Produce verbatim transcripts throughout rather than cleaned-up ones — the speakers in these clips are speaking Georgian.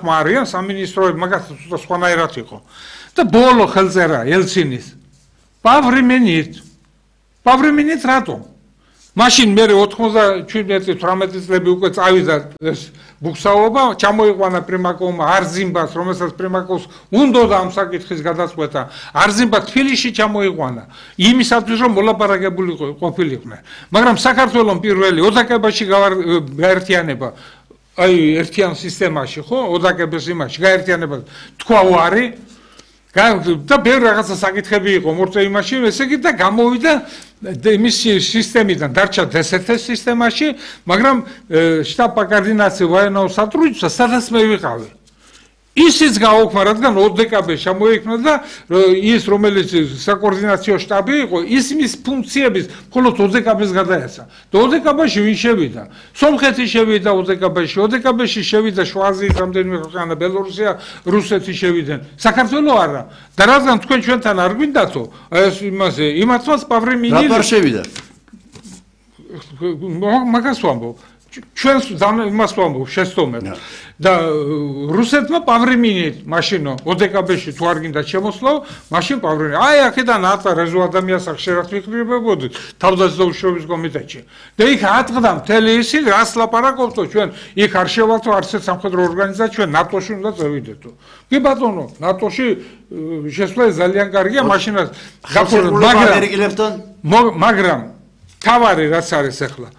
მარია სამინისტროები მაგას სხვანაირად იყო. და ბოლო ხელწერა ელცინის პავრიმინით. პავრიმინით რატომ? მაშინ მე ოთხმოცდაშვიდი თვრამეტი წლები უკვე წავიდა ეს ბუქსაობა, ჩამოიყვანა პრიმაკოვმა არზიმბას, რომელსაც პრიმაკოვს უნდოდა ამ საკითხის გადაწყვეტა. არზიმბა თბილისში ჩამოიყვანა იმისათვის, რომ მოლაპარაკებული ყოფილიყვნენ. მაგრამ საქართველოს პირველი ოდაკებაში გაერთიანება, აი ერთიან სისტემაში, ხო, ოდაკების იმაში გაერთიანება თქვა უარი და ბევრი რაღაცა საკითხები იყო მორწე იმაში, ესე იგი და გამოვიდა იმის სისტემიდან დარჩა დსთ სისტემაში, მაგრამ შტაბ კოორდინაცია ვაენაო სატრუდნичество სადაც მე ვიყავი. ისიც გააუქმა, რადგან ოდკბ შემოიქმნა და ის რომელიც საკოორდინაციო შტაბი იყო, ის მის ფუნქციების მხოლოდ ოდკბ-ს გადაეცა. და ოდკბ-ში ვინ შევიდა? სომხეთი შევიდა ოდკბ-ში, ოდკბ-ში შევიდა შუა აზიის რამდენიმე ქვეყანა, ბელორუსია, რუსეთი შევიდნენ. საქართველო არა. და რადგან თქვენ ჩვენთან არ გვინდათო, ეს იმაზე, იმათვას პავრიმინი რატო არ შევიდა? მაგას ვამბობ. ჩვენს იმას ვამბობ, შეცდომებს. და რუსეთმა პავრიმინით მაშინო ოდკბ-ში თუ არ გინდა შემოსვლა, მაშინ პავრიმინი. აი აქედან ატა რეზო ადამიანს ახშერად ვიქრებებოდით თავდაცვის კომიტეტში. და იქ ატყდა მთელი ისინი, რას ლაპარაკობთო ჩვენ, იქ არ შევალთო არც ერთ სამხედრო ორგანიზაცია, ჩვენ ნატოში უნდა წევიდეთო. კი ბატონო, ნატოში შესვლა ძალიან კარგია, მაშინაც მაგრამ თავარი რაც არის ახლა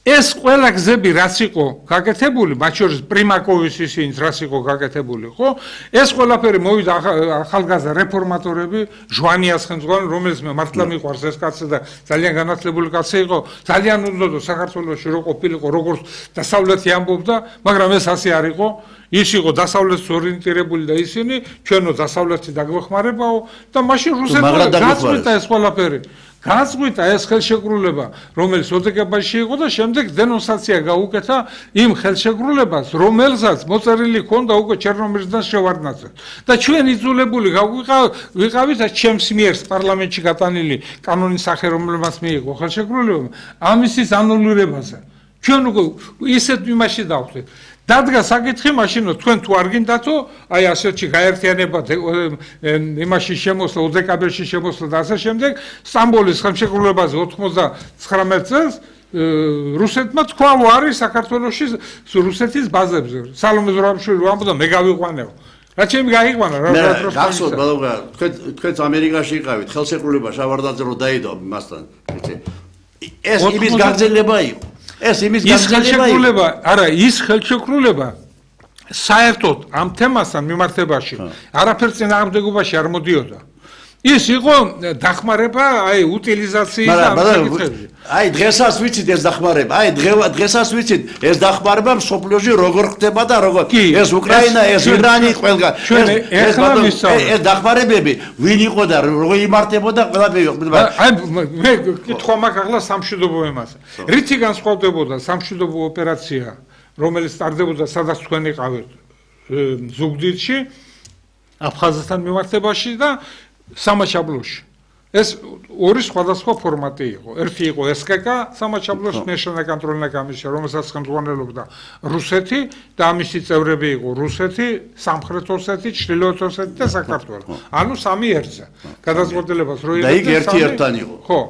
ეს ყველა გზები რაც იყო გაკეთებული, მათ შორის პრიმაკოვის ისინიც რაც იყო გაკეთებული, ხო? ეს ყველაფერი მოვიდა ახალგაზრდა რეფორმატორები, ჟვანიას ხელმძღვანელი, რომელიც მე მართლა მიყვარს ეს კაცი და ძალიან განათლებული კაცი იყო, ძალიან უნდოდა საქართველოში რო ყოფილიყო, როგორც დასავლეთი ამბობდა, მაგრამ ეს ასე არ იყო. ის იყო დასავლეთს ორიენტირებული და ისინი ჩვენო დასავლეთი დაგვეხმარებაო და მაშინ რუსეთმა გაწყვიტა ეს ყველაფერი. გაწყვიტა ეს ხელშეკრულება, რომელიც ოდკბ-ში იყო და შემდეგ დენონსაცია გაუკეთა იმ ხელშეკრულებას, რომელსაც მოწერილი ჰქონდა უკვე ჩერნომირძიდან შევარდნაძე. და ჩვენ იძულებული ვიყავით ჩემს მიერ პარლამენტში გატანილი კანონის სახე, რომელმაც მიიღო ხელშეკრულება, ამისის ანულირებაზე. ჩვენ უკვე ისეთ იმაში დავხვდით. დადგა საკითხი მაშინო თქვენ თუ არ გინდათო, აი ასეთში გაერთიანება იმაში შემოსვლა, ოდკბ-ში შემოსვლა და ასე შემდეგ, სტამბოლის ხელშეკრულებაზე ოთხმოცდათვრამეტ წელს რუსეთმა თქვა უარი საქართველოში რუსეთის ბაზებზე. სალომე ზურაბიშვილი ვამბობდა მე გავიყვანეო. რა ჩემი გაიყვანა რა დროს გახსოვთ ბალოგა, თქვენ თქვენც ამერიკაში იყავით, ხელშეკრულება შავარდაძე რო დაიდო მასთან, იცი. ეს იმის გაგრძელება იყო. ეს იმის ხელშეკრულება, არა, ის ხელშეკრულება საერთოდ ამ თემასთან მიმართებაში არაფერს წინააღმდეგობაში არ მოდიოდა. ის იყო დახმარება, აი, უტილიზაციის და ამ საკითხებზე. აი, დღესაც ვიცით ეს დახმარება, აი, დღესაც ვიცით ეს დახმარება მსოფლიოში როგორ ხდება და როგორ ეს უკრაინა, ეს ირანი, ყველგან. ეს ეს დახმარებები ვინ იყო და როგორ იმართებოდა ყველაფერი. აი, მე კითხვა მაქვს ახლა სამშვიდობო ემაზე. რითი განსხვავდებოდა სამშვიდობო ოპერაცია, რომელიც ტარდებოდა სადაც თქვენ იყავით ზუგდიდში, აფხაზეთთან მიმართებაში და სამაჩაბლოში. ეს ორი სხვადასხვა ფორმატი იყო. ერთი იყო ეს კე კა, სამაჩაბლოში ნეშნალ კონტროლная კომისია, რომელსაც ხელმძღვანელობდა რუსეთი და ამისი წევრები იყო რუსეთი, სამხრეთ ოსეთი, ჩრდილოეთ ოსეთი და საქართველო. ანუ სამი ერთზე. გადაწყვეტილებას რო იღებდნენ. და იქ ერთი ერთთან იყო. ხო.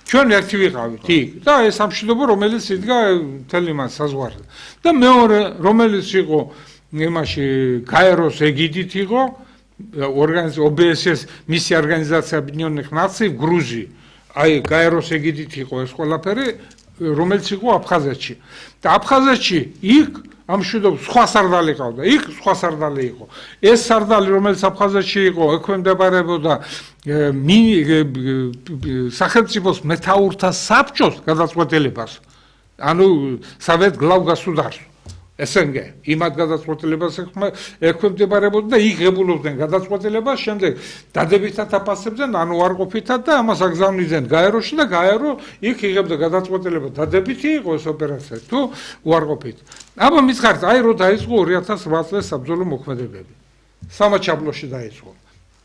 ჩვენ ერთი ვიყავით იქ და ეს სამშვიდობო რომელიც იდგა მთელი მას საზღვარზე. და მეორე რომელიც იყო იმაში გაეროს ეგიდით იყო ორგანიზაცია ო ბე ეს ეს მისი ორგანიზაცია Объединенных Наций გრუზი. აი გაეროს ეგიდით იყო ეს ყველაფერი, რომელიც იყო აფხაზეთში. და აფხაზეთში იქ ამ მშვიდობის სხვა სარდალი ყავდა. იქ სხვა სარდალი იყო. ეს სარდალი რომელიც აფხაზეთში იყო, ექვემდებარებოდა სახელმწიფოს მეთაურთა საბჭოს გადაწყვეტილებას. ანუ სავეთ გლავ გასუდარს. ეს ენგე იმად გადაწყვეტილებას ექვემდებარებოდა და იღებულობდნენ გადაწყვეტილებას, შემდეგ დადებითად აფასებდნენ, ანუ უარყოფითად და ამას აგზავნიდნენ გაეროში და გაერო იქ იღებდა გადაწყვეტილება დადებითი იყო ეს ოპერაცია თუ უარყოფით. აბა მითხარით, აი რო დაიწყო ორი ათას რვა წლის საბრძოლო მოქმედებები. სამაჩაბლოში დაიწყო.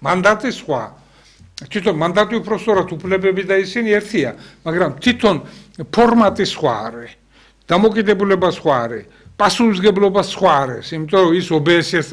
მანდატი სხვა. თვითონ მანდატი უпростоრად უფლებები და ისინი ერთია, მაგრამ თვითონ ფორმატი სხვა არის. დამოკიდებულება სხვა არის. პასუხისგებლობა სხვა არის, იმიტომ რომ ის ო ბე ეს-ს